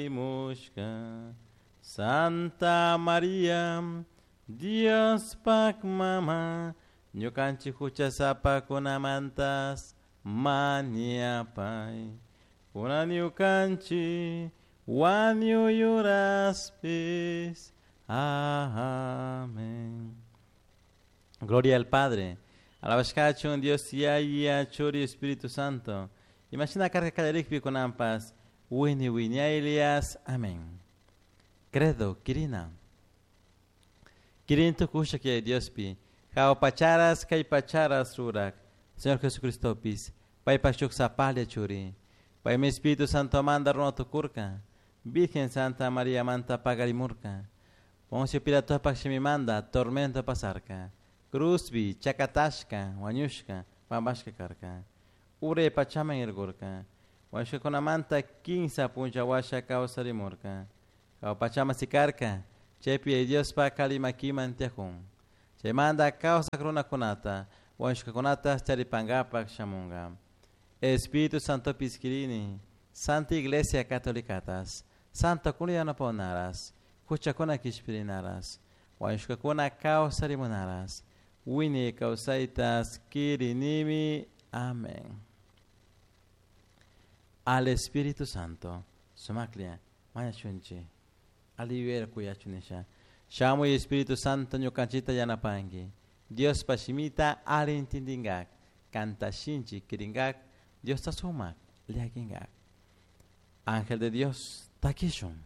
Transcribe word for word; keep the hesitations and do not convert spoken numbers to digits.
Mushka Santa Maria Diospak mama ñukanchik huchasapakunamantas mañapay kunan ñukanchik wañuyuraspis. Amén. Gloria al Padre, alabashkachun Dios Yaya, Churi, Espíritu Santo. Imashina karka kallarikpi kunanpas, wini wiñaylias. Amén. Credo, Kirina. Kirin tukusha que Diospi, jao pacharas kay pacharas rurak, Señor Jesucristopis, paypak shuk sapalla churi. Paymi Espíritu Santo manda runa tukurka, Virgen Santa María manta pagarimurka. Poncio Pilatopak shimimanda tormento pasarka. Cruzbi, chakatashka, wañushka, pampashka karka. Uray pachaman irgurka. Wañushkakunamanta kinsa puncha washa kawsarimurka. Jahua pachaman sikarka, chaypi Diospak alli makiman tiyakun. Chaymanta kawsak runakunata, wañushkakunata charipankapak shamunka. Espíritu Santo kirini, Santa Iglesia Catolicatas, Santo kuna yanapahunaras, huchakuna kishpirinaras, wañushkakuna kawsarimunaras, wiñay kawsaytas kirinimi. Amén. Al Espíritu Santo, sumaklla, mañashunchik, alli yuyayta kuyachun nisha. Shamuy Espíritu Santo ñukanchikta yanapanki. Diospa shimita alli intindinkak, kanta shinchi kirinkak, Diosta sumak llakinkak. Ángel de Dios, takishun.